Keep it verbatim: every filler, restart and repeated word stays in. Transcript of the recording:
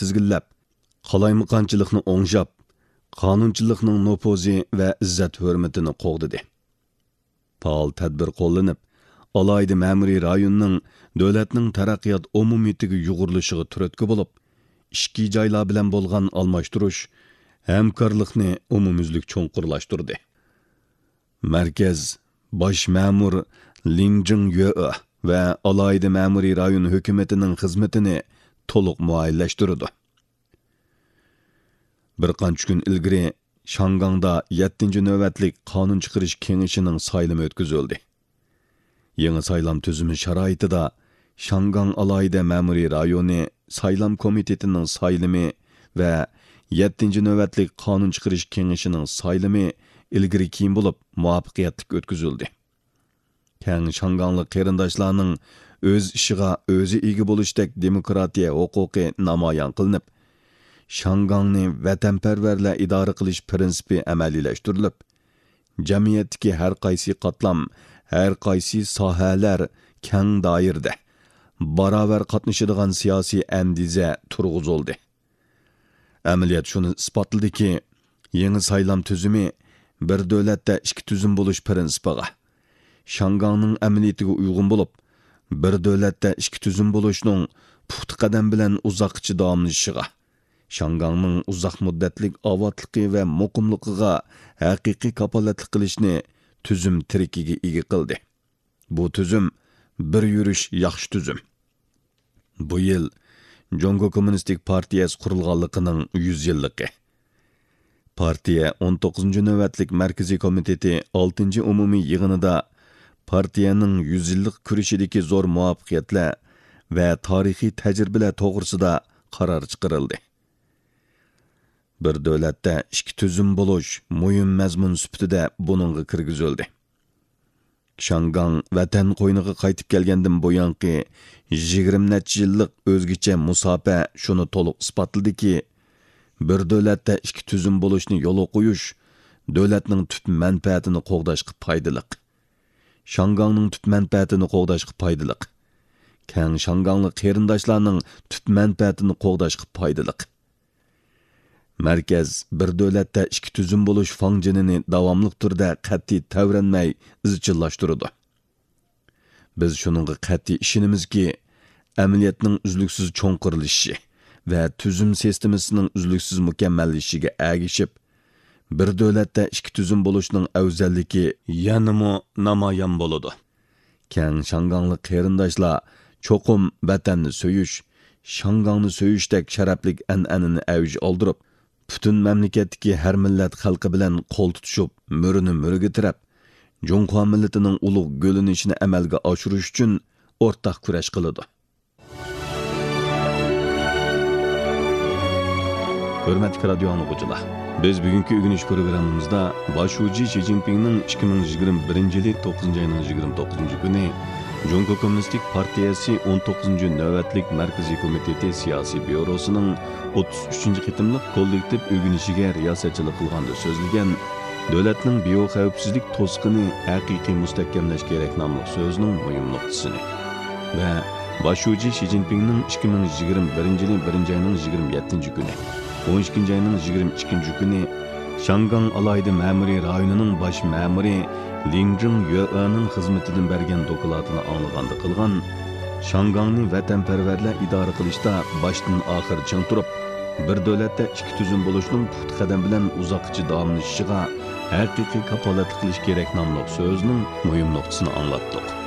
تىزگىنلەپ، قالايمىقانچىلىقنى ئوڭشاپ، قانۇنچىلىقنىڭ نوپۇزى ۋە ئىززەت-ھۆرمىتىنى قوغدىدى. پائال تەدبىر قوللىنىپ، ئالاھىدە مەمۇرىي رايوننىڭ دۆلەتنىڭ تەرەققىيات ئومۇمىيىتىگە يۇغۇرۇلۇشىغا تۈرتكە بولۇپ، ئىچكى جايلار بىلەن بولغان ئالماشتۇرۇش، ھەمكارلىقنى ئومۇميۈزلۈك چوڭقۇرلاشتۇردى. مەركەز باش مەمۇر لىڭ جىڭيۆې ۋە ئالاھىدە مەمۇرىي رايون ھۆكۈمىتىنىڭ خىزمىتىنى تولۇق مۇئەييەنلەشتۈرىدۇ. بىر قانچە كۈن ئىلگىرى شاڭگاڭدا يەتتىنچى نۆۋەتلىك قانۇن چىقىرىش كېڭىشىنىڭ سايلىمى ئۆتكۈزۈلدى. يېڭى سايلام تۈزۈمى شارائىتىدا شاڭگاڭ ئالاھىدە مەمۇرىي رايونى سايلام كومىتېتىنىڭ سايلىمى ۋە يەتتىنچى نۆۋەتلىك قانۇن چىقىرىش كېڭىشىنىڭ سايلىمى ئىلگىرى كېيىن بولۇپ مۇۋەپپەقىيەتلىك ئۆتكۈزۈلدى. كەڭ شاڭگاڭلىق قېرىنداشلارنىڭ ئۆز ئىشىغا ئۆزى ئىگە بولۇشتەك دېموكراتىيە ھوقۇقى نامايان قىلىنىپ، شاڭگاڭنى ۋەتەنپەرۋەرلەر ئىدارە قىلىش پىرىنسىپى ئەمەلىيلەشتۈرۈلۈپ، جەمئىيەتتىكى ھەر قايسى قاتلام، ھەر قايسى ساھەلەر كەڭ دائىرىدە باراۋەر قاتنىشىدىغان سىياسىي ئەندىزە تۇرغۇزۇلدى. ئەمەلىيەت شۇنى ئىسپاتلىدىكى، يېڭى سايلام تۈزۈمى بىر دۆلەتتە ئىككى تۈزۈم بولۇش پىرىنسىپىغا، شاڭگاڭنىڭ ئەمەلىيىتىگە ئۇيغۇن بولۇپ، بىر دۆلەتتە ئىككى تۈزۈم بولۇشنىڭ پۇختا قەدەم بىلەن ئۇزاققىچە داۋاملىشىشىغا، شاڭگاڭنىڭ ئۇزاق مۇددەتلىك ئاۋاتلىقى ۋە مۇقىملىقىغا ھەقىقىي كاپالەتلىك قىلىشنى تۈزۈم تىرىكىگە ئىگە قىلدى. بۇ تۈزۈم بىر يۈرۈش ياخشى تۈزۈم. بۇ يىل جۇڭگو كوممۇنىستىك پارتىيەسى قۇرۇلغانلىقىنىڭ يۈز يىللىقى. پارتىيە ئون توققۇزىنچى نۆۋەتلىك مەركىزىي كومىتېتى ئالتىنچى ئومۇمىي يىغىنىدا پارتىيەنىڭ يۈز يىللىق كۈرىشىدىكى زور مۇۋەپپەقىيەتلەر ۋە تارىخىي تەجرىبىلەر توغرىسىدا قارار چىقىرىلدى. بىر دۆلەتتە ئىككى تۈزۈم بولۇش مۇھىم مەزمۇن سۈپىتىدە بۇنىڭغا كىرگۈزۈلدى. شاڭگاڭ ۋەتەن قوينىغا قايتىپ كەلگەندىن بۇيانقى يىگىرمە نەچچە يىللىق ئۆزگىچە مۇساپە شۇنى تولۇق ئىسپاتلىدىكى، بىر دۆلەتتە ئىككى تۈزۈم بولۇشنى يولغا قويۇش دۆلەتنىڭ تۈپ مەنپەئەتىنى قوغداشقا پايدىلىق. شاڭگاڭنىڭ تۈپ مەنپەئەتىنى قوغداشقا پايدىلىق. كەڭ شاڭگاڭلىق قېرىنداشلارنىڭ تۈپ مەنپەئەتىنى قوغداشقا پايدىلىق. مەركەز بىر دۆلەتتە ئىككى تۈزۈم بولۇش فاڭجېنىنى داۋاملىق تۈردە قەتئىي تەۋرەنمەي ئىزچىللاشتۇرىدۇ. بىز شۇنىڭغا قەتئىي ئىشىنىمىزكى، ئەمەلىيەتنىڭ ئۈزلۈكسىز چوڭقۇرلىشىشى ۋە تۈزۈم سىستېمىسىنىڭ ئۈزلۈكسىز مۇكەممەللىشىشىگە ئەگىشىپ، بىر دۆلەتتە ئىككى تۈزۈم بولۇشنىڭ ئەۋزەللىكى يەنىمۇ نامايان بولىدۇ. كەڭ شاڭگاڭلىق قېرىنداشلار چوقۇم ۋەتەننى سۆيۈش، شاڭگاڭنى سۆيۈشتەك شەرەپلىك ئەنئەنىنى ئەۋج ئالدۇرۇپ، پۈتۈن مەملىكەتتىكى ھەر مىللەت خەلقى بىلەن قول تۇتۇشۇپ، مۈرىنى مۈرىگە تىرەپ، جۇڭخۇا مىللىتىنىڭ ئۇلۇغ گۈللىنىشىنى ئەمەلگە ئاشۇرۇش ئۈچۈن ئورتاق كۈرەش قىلىدۇ. ھۆرمەتلىك رادىيو ئاڭلىغۇچىلار، بىز بۈگۈنكى ئۆگىنىش پروگراممىمىزدا باش شۇجى شى جىنپىڭنىڭ ئىككى مىڭ يىگىرمە بىرىنچى يىلى توققۇزىنچى ئاينىڭ يىگىرمە توققۇزىنچى كۈنى جۇڭگو كوممۇنىستىك پارتىيەسى ئون توققۇزىنچى نۆۋەتلىك مەركىزىي كومىتېتى سىياسىي بيۇروسىنىڭ ئوتتۇز ئۈچىنچى قېتىملىق كوللېكتىپ ئۆگىنىشىگە رىياسەتچىلىك قىلغاندا سۆزلىگەن، دۆلەتنىڭ بىيوخەۋپسىزلىك توسۇقىنى ھەقىقىي مۇستەھكەملەش كېرەك ناملىق سۆزىنىڭ مۇھىم نۇقتىسىنى ۋە باش شۇجى شى جىنپىڭنىڭ ئىككى مىڭ يىگىرمە بىرىنچى يىلى بىرىنچى ئاينىڭ يىگىرمە يەتتىنچى كۈنى، ئون ئىككىنچى ئاينىڭ يىگىرمە ئىككىنچى كۈنى شاڭگاڭ ئالاھىدە مەمۇرىي رايونىنىڭ باش مەمۇرى لىڭ جىڭ يۆئېنىڭ خىزمىتىدىن بەرگەن دوكلاتىنى ئاڭلىغاندا قىلغان، شاڭگاڭنى ۋەتەنپەرۋەرلەر ئىدارە قىلىشتا باشتىن ئاخىر چىڭ تۇرۇپ، بىر دۆلەتتە ئىككى تۈزۈم بولۇشنىڭ پۇختا قەدەم بىلەن ئۇزاققىچە داۋاملىشىشىغا ھەقىقىي كاپالەتلىك قىلىش كېرەك ناملىق سۆزىنىڭ مۇھىم نۇقتىسىنى ئاڭلاتتۇق.